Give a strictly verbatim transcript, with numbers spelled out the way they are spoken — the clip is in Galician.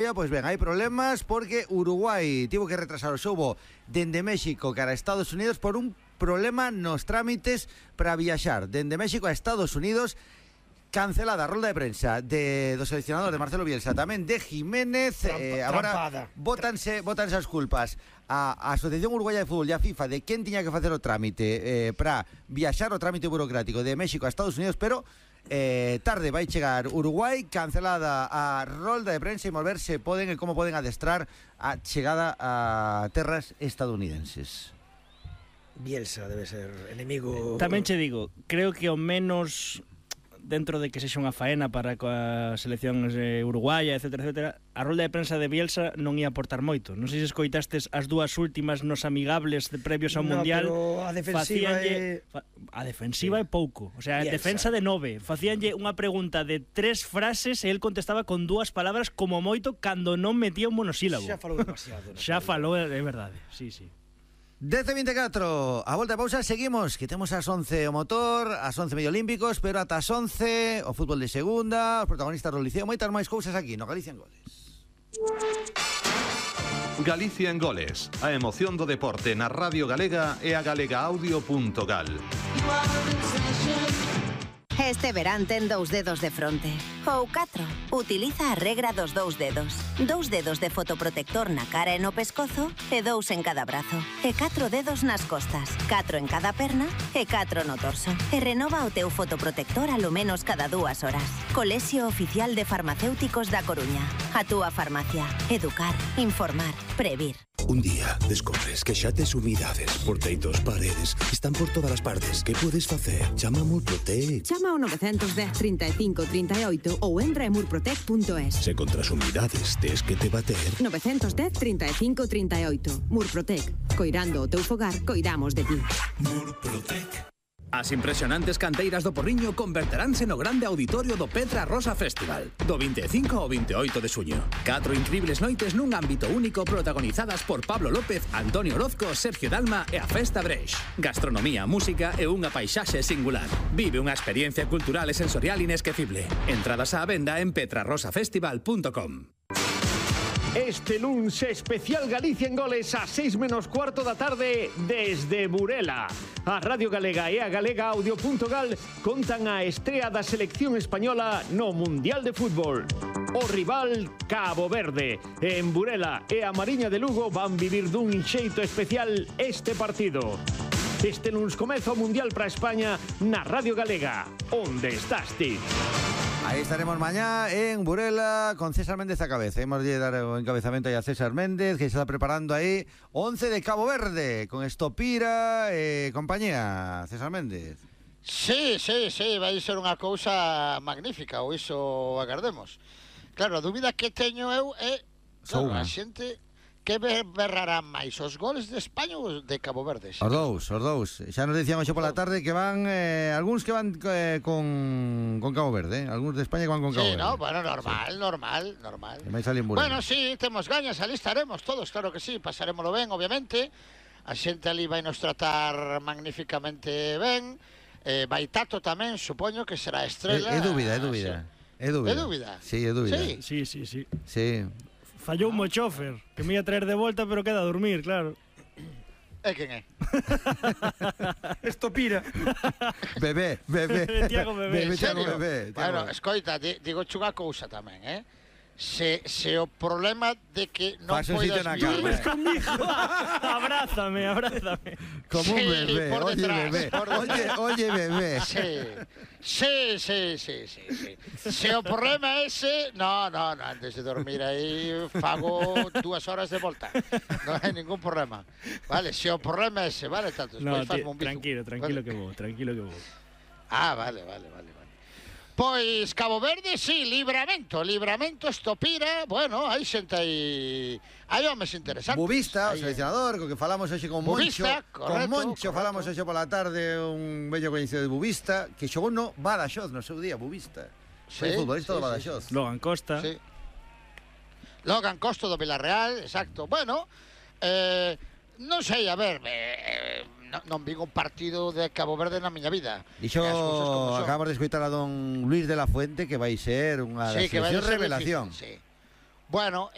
Pois ben, hai problemas porque Uruguai tivo que retrasar o xogo dende México cara a Estados Unidos por un problema nos trámites para viaxar dende México a Estados Unidos. Cancelada a rolda de prensa de, do seleccionador de Marcelo Bielsa, tamén de Jiménez. Trampa, eh, agora botanse, botanse as culpas a, a Asociación Uruguaya de Fútbol e a FIFA de quen tiña que facer o trámite eh, para viaxar o trámite burocrático de México a Estados Unidos, pero eh, tarde vai chegar Uruguai. Cancelada a rolda de prensa e volver se poden e como poden adestrar a chegada a terras estadounidenses. Bielsa debe ser enemigo. Tamén che digo, creo que o menos, dentro de que sexa unha faena para coa selección eh, uruguaya, etcétera, etcétera, a rolda de prensa de Bielsa non ia aportar moito. Non sei se escoitastes as dúas últimas nos amigables de previos ao no, Mundial. Pero a defensiva é... Fa, a defensiva sí. é pouco. O sea, Bielsa. Defensa de nove. Facíanlle unha pregunta de tres frases e el contestaba con dúas palabras como moito cando non metía un monosílabo. Xa falou demasiado. Xa falou, é verdade. Sí, sí. dez e vinte e catro, a volta de pausa, seguimos, que temos ás once o motor, ás once medio olímpicos, pero ata as once o fútbol de segunda, os protagonistas do Liceo, moitas máis cousas aquí no Galicia en Goles. Galicia en Goles, a emoción do deporte na Radio Galega e a galegaaudio punto gal. Este verán ten dous dedos de fronte. Ou catro. Utiliza a regra dos dous dedos. Dous dedos de fotoprotector na cara e no pescozo e dous en cada brazo. E catro dedos nas costas. Catro en cada perna e catro no torso. E renova o teu fotoprotector alo menos cada dúas horas. Colexio Oficial de Farmacéuticos da Coruña. A túa farmacia. Educar, informar, previr. Un día descobres que xa tes humidades por teitos, paredes, están por todas as partes. Que podes facer? Chama a Murprotec. Chama ao nove un cero, trinta e cinco, trinta e oito ou entra en murprotec punto es. Se contra as humidades tes que te bater. nove un cero, trinta e cinco, trinta e oito. Murprotec. Coirando o teu fogar, coidamos de ti. Murprotec. As impresionantes canteiras do Porriño converteránse no grande auditorio do Petra Rosa Festival do vinte e cinco ao vinte e oito de suño. Catro incribles noites nun ámbito único protagonizadas por Pablo López, Antonio Orozco, Sergio Dalma e a Festa Breix. Gastronomía, música e unha paisaxe singular. Vive unha experiencia cultural e sensorial inesquecible. Entradas á venda en petra rosa festival punto com. Este luns especial Galicia en Goles a seis menos cuarto da tarde desde Burela. A Radio Galega e a galegaaudio punto gal contan a estrea da selección española no Mundial de Fútbol. O rival Cabo Verde. En Burela e a Mariña de Lugo van vivir dun xeito especial este partido. Este luns comeza o Mundial para España na Radio Galega. Onde estás ti? Aí estaremos mañá en Burela con César Méndez a cabeza. Hemos de dar o encabezamento aí a César Méndez, que se está preparando aí once de Cabo Verde con Estopira e eh, compañía. César Méndez. Sí, sí, sí, vai ser unha cousa magnífica, ou iso agardemos. Claro, a dúbida que teño eu é, claro, a xente que berrarán máis, os goles de España ou de Cabo Verde? Os dous, os dous. Xa nos dicían hoxe pola tarde que van eh, algúns que van eh, con, con Cabo Verde, eh? Algúns de España que van con Cabo sí, Verde. Sí, no, bueno, normal, sí. normal, normal. Bueno, sí, temos gañas, ali estaremos todos, claro que sí, pasarémoslo ben, obviamente. A xente ali vai nos tratar magníficamente ben. Eh, vai Tato tamén, supoño que será estrela. É, é dúbida, é dúbida. É dúbida. É dúbida? Sí, é dúbida. Sí, sí, sí. Sí. sí. Fallou un chofer, que me ia traer de volta, pero queda a dormir, claro. É quen é? Estopira. Bebé, bebé. Tiago Bebé. Bebé, Tiago Bebé. Bueno, escoita, digo unha cousa tamén, eh? Se, se o problema de que non poidas dormes comigo. Abrázame, abrázame. Como un bebé, sí, oye detrás, bebé, oye, oye bebé. Sí, sí, sí, sí, sí, sí. Se o problema é ese, no, no, no, antes de dormir aí fago dúas horas de volta. Non hai ningún problema. Vale, se o problema é ese, vale, tanto, no, fasmo un bizu. Tranquilo, tranquilo vale. que vou, tranquilo que vou. Ah, vale, vale, vale. Pois Cabo Verde, sí, Livramento, Livramento, Estopira, bueno, hai xente aí, hai homes interesantes. Bubista, o seleccionador, co que falamos hoxe con Moncho, Bubista, correcto, con Moncho correcto. Falamos hoxe pola tarde, un bello coñecido de Bubista, que xogou no Badaxoz no seu día, Bubista. Foi sí, futbolista sí, do Badaxoz. Sí. Logan Costa. Sí. Logan Costa do Villarreal, exacto. Bueno, eh, non sei, a ver, eh, non, non vi un partido de Cabo Verde na miña vida. Dixo, acabamos de escoitar a don Luis de la Fuente que vai ser unha sí, selección revelación. Sí. Bueno,